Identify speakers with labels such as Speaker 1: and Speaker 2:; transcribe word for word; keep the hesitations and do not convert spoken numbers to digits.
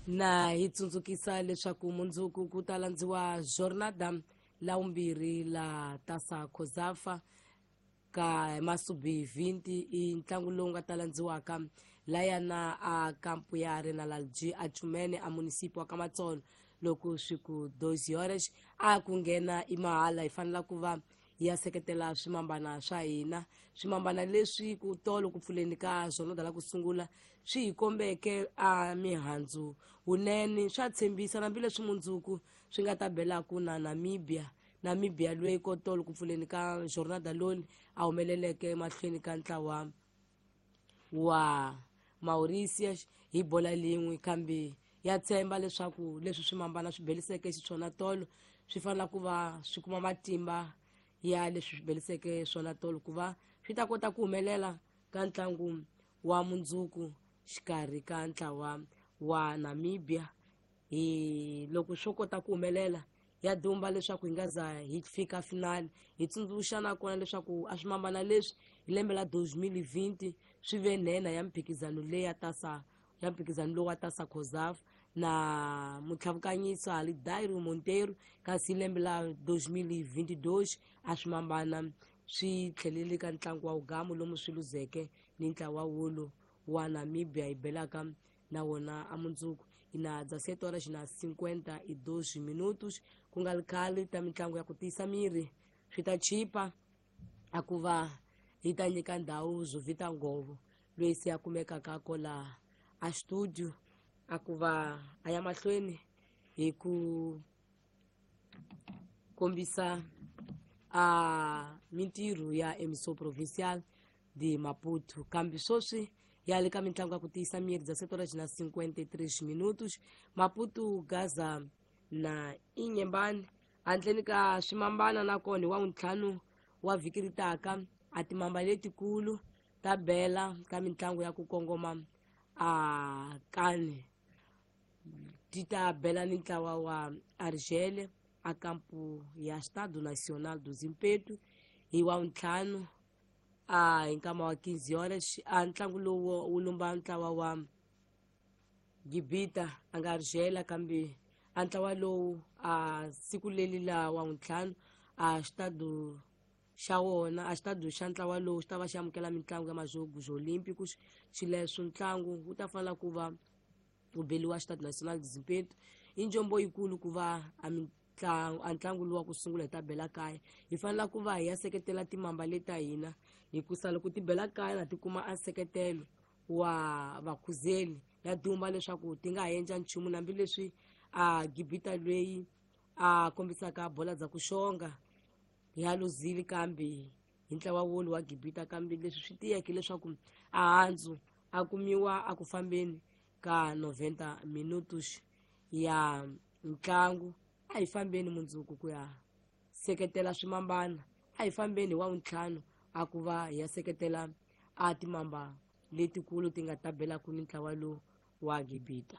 Speaker 1: Na hi tsundzukisa leswaku mundzuku ku ta landziwa jornada la vumbirhi la Tasa Cosafa ka masubi vinti, i ntlangu lowu nga ta landziwaka layana a kampu ya Arenalalji a Chumene a munisipi wa Kamatsolo loko swi ku doze horas a ku nghena i mahala. Hi fanela ku va hi ya seketela swimambana swa hina, swimambana leswi ku tolo ku pfuleni ka jornada la ku sungula swi hi kombeke a mihandzu wunene, swa tshembisa hambileswi mundzuku swi nga ta belaku na Namibia. Namibia loyi ko tolo ku pfuleni ka jornada loli a humeleleke mahlweni ka ntlawa wa Mauritius hi bola lin'we, kambe ya tshemba leswaku leswi swimambana swi beliseke xiswona tolo swi fanela ku va swi kuma matimba ya leswi swi beliseke swona tolo ku va swi ta kota ku humelela ka ntlangu wa mundzuku xikarhi ka ntlawa wa Namibia. Hi loko swo kota ku humelela ya dumba leswaku hi nga za hi fika finali. Hi tsundzuxa nakona leswaku a swimambana leswi hi lembe la twenty twenty swi ve nhenha ya mphikizano leyi ya Tasa, ya mphikizano lowu wa Tasa Cosafa na mutlhavukanyisa Alidairo Monteiro, kasi hi lembe la twenty twenty-two a swimambana swi tlhelele ka ntlangu wa ugamu lomu swi luzeke ni ntlawa wolo wa Namibia hi belaka na wona a mundzuku. Ina dezessete horas na cinquenta e dois minutos ku nga ri khale ta mitlangu ya ku tiyisa miri swi ta chipa a ku va hi ta nyika ndhawu Zovita Ngovo loyi se a kumekaka kola a studio a ku va a ya mahlweni hi ku kombisa a mintirho ya Emissão Provincial de Maputo. Kambe sweswi ya le ka mitlangu ya ku tiyisa miri dezessete horas na cinquenta e três minutos Maputo Gaza na Inhambane handleni ka swimambana nakona hi wa ntlhanu wa vhiki ri taka a timamba letikulu ta bela ka mitlangu ya ku kongoma a kani ti ta bela ni ntlawa wa Argel a kampu ya Estado Nacional do Zimpeto hi wa ntlhanu a hi nkama wa quinze horas. A ntlangu lowu wu lumba ntlawa wa Gibita a nga Argel, kambe a ntlawa lowu a siku leli la wa ntlhanu a Estado xa wona a xitado xa ntlawa lowu xi ta va xi amukela mitlangu ya Majogos Olímpicos. Xileswo ntlangu wu ta fanela ku va wu beliwa Estado Nacional de Zimpeto. I njombo yikulu ku va a mitlangu a ntlangu lowu wa ku sungula hi ta bela kaya, hi fanela ku va hi ya seketela timamba leta hina hikusa loko ti bela kaya na ti kuma a nseketelo wa vakhuzeli ya dumba leswaku ti nga ha endla nchumu hambileswi a Gibita loyi a kombisaka bola dza ku xonga ya luzile kambe hi ntlawa wolo wa Gibita, kambe leswi swi tiyeke leswaku a handzu a kumiwa a ku fambeni ka noventa minutos ya ntlangu. A hi fambeni mundzuku ku ya seketela swimambana, a hi fambeni hi wa ntlhanu a ku va hi ya seketela a timamba letikulu ti nga ta belaku ni ntlawa lowu wa Gibita.